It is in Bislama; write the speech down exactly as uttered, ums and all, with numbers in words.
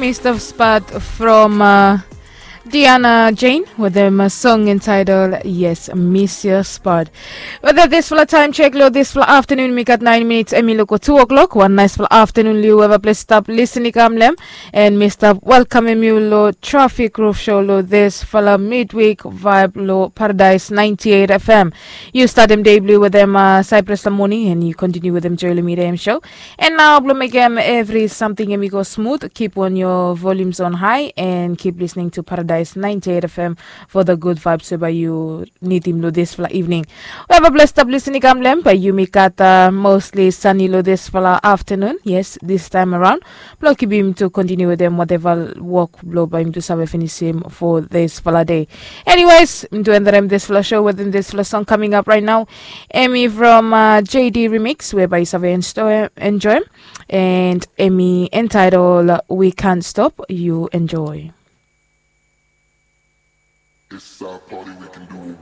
Mista Spot from uh, Diana Jane with a song entitled Yes, Miss Your Spot. Weda disfala taem chek lo disfala aftanun mi gat naen minits, em i luko tu o'klok. Wan naesfala aftanun lo yu, weva ples stap lisin i kam long em. And mi stap welkamem yu lo Traffic Roof Show lo disfala midweek vibe lo Paradise ninety-eight F M. Yu statem dei blo yu wetem uh, Cyprus Lamoni, and yu kontiniu wetem Joel Midem Show. And nao blo mekem evri samting em i go smut, keep on your volumes on high and keep listening to Paradise ninety-eight F M for the good vibes we bae yu nidim lo disfala evening. Weva ples stap lisin i kam long em, bae yumi gat uh, mostly sunny lo disfala aftanun. Yes, this time around. Blo kipim tu kontiniu wetem wateva wok blo bae yumi tu save finisim for disfala dei. Anyways, mi tu endarem disfala show wetem disfala song coming up right now. Em i from uh, J D Remix, we bae yu save enjoy, enjoy. And em i entitled We Can't Stop, yu enjoy. It's our party, we can do what we